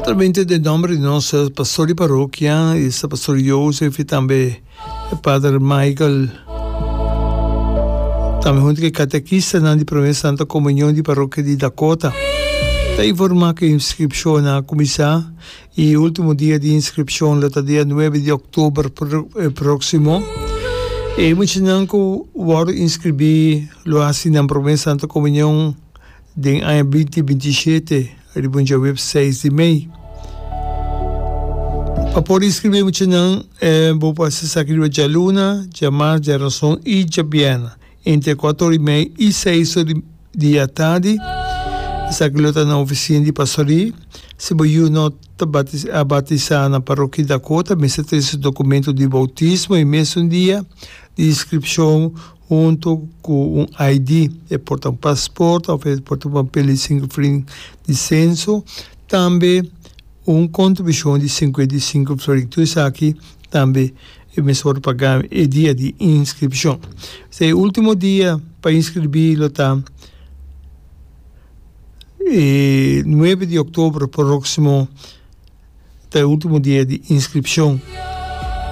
Naturalmente den nomber di nos pastor di parokia, esta pastor Joseph y tambe pader Michael, tambe hunto cu e catequistanan di Prome Santa Comunion di parokia di Dakota, ta informa cu e inscripcionnan a cuminsa y e ultimo dia di inscripcion lo ta dia nuebe di october proximo. E muchanan cu wordo inscribi lo haci nan Prome Santa Comunion Den aña binti 27, riba un djaweps seis di mei. Pa por inscribí muchanan, bo por haci esaki riba djaluna, djamars, djarason y djabièrnè, entre kuater ora y mei y seis ora di atardi. Esaki lo ta na oficina di pastorí. Si bo yu no ta a batisá na Parokia Dakota, mester trese documento di bautismo e mesun dia di inscripcion hunto cu un ID, e por ta un paspoort of e por ta un papel di sinku florin di censo, tambe un contribucion di 55 florin. Tur esaki tambe e mester worde paga e dia di inscripcion. E ultimo dia pa inscribi lo ta e nuebe di october proximo. Ta e ultimo dia di inscripcion.